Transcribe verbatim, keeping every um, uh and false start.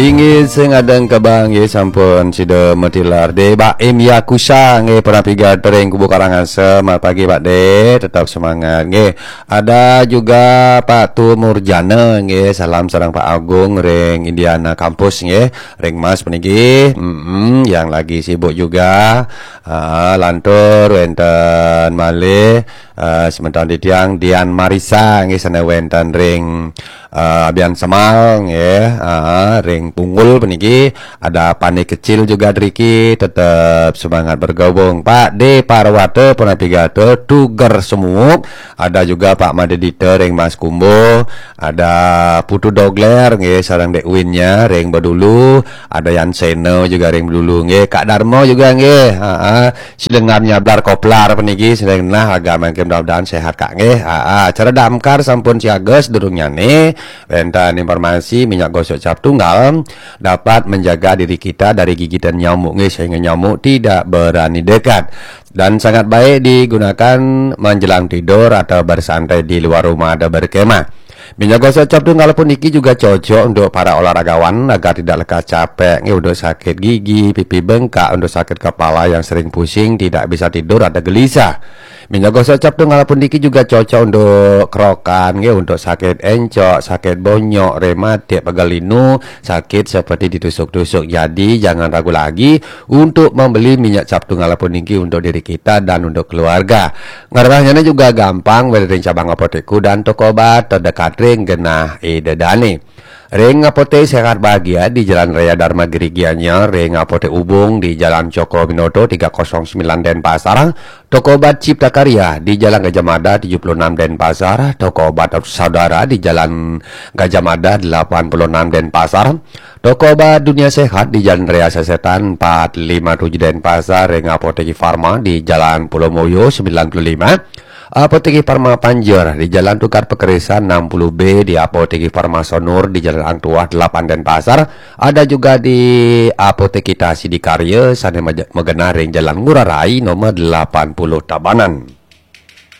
Inggih, sing adeng kebang nggih, sampun sida matilar. De Baim Yakusa nggih, pernah piga tering Kubu Karangasem. Selamat pagi Pak De, tetap semangat nggih. Ada juga Pak Tu Murjana nggih, salam sareng Pak Agung ring Indiana Kampus nggih, ring Mas puniki. Mm-mm, yang lagi sibuk juga. Ah, lantur wenten malih, ah, semeton titiang Dian Marisa nggih, sane wenten ring, ah, Abian Semal nggih, ah, ring Punggul puniki. Ada Pani Kecil juga driki, tetap semangat bergabung. Pak De Parwata, Purna Pigata, Tuger Semuuk, ada juga Pak Made Dita ring Mas Kumbo, ada Putu Dogler nggih, sareng Dek Winnya ring Bedulu, ada Yan Seno juga ring Bedulu nggih, Kak Darmo juga nggih. Heeh. Silengan nyablar koplar puniki, silengan nah agak mangke, mudah-mudahan sehat Kak nggih. Heeh. Acara damkar sampun siaga, sedurungnyane wenten informasi minyak gosok cap tunggal dapat menjaga diri kita dari gigitan nyamuk nggih, sehingga nyamuk tidak berani dekat dan sangat baik digunakan menjelang tidur atau bersantai di luar rumah atau berkemah. Minyak gosok cap tunggal puniki juga cocok untuk para olahragawan agar tidak lekas capek nggih, untuk sakit gigi, pipi bengkak, untuk sakit kepala yang sering pusing, tidak bisa tidur atau gelisah. Minyak gosok cap tunggal puniki juga cocok untuk kerokan nggih, untuk sakit encok, sakit bonyok, rematik, pegal linu, sakit seperti ditusuk-tusuk. Jadi jangan ragu lagi untuk membeli minyak cap tunggal puniki untuk diri kita dan untuk keluarga. Ngrerehnyane juga gampang, wenten ring cabang apotek dan toko obat terdekat ring genah ida dane. Ring Apotek Sehat Bahagia di Jalan Raya Dharma Giri Gianyar, ring Apotek Ubung di Jalan Cokroaminoto tiga kosong sembilan Denpasar, toko obat Cipta Karya di Jalan Gajah Mada tujuh puluh enam Denpasar, toko obat Saudara di Jalan Gajah Mada delapan puluh enam Denpasar, toko obat Dunia Sehat di Jalan Raya Sesetan empat lima tujuh Denpasar, ring Apotek Farma di Jalan Pulau Moyo sembilan puluh lima, Apotek Farma Panjer di Jalan Tukad Pakerisan enam puluh B, di Apotek Farma Sonur di Jalan Hang Tuah delapan Denpasar, ada juga di Apotek Kita Sidakarya sane maja-, magenah ring Jalan Ngurah Rai nomor delapan puluh Tabanan.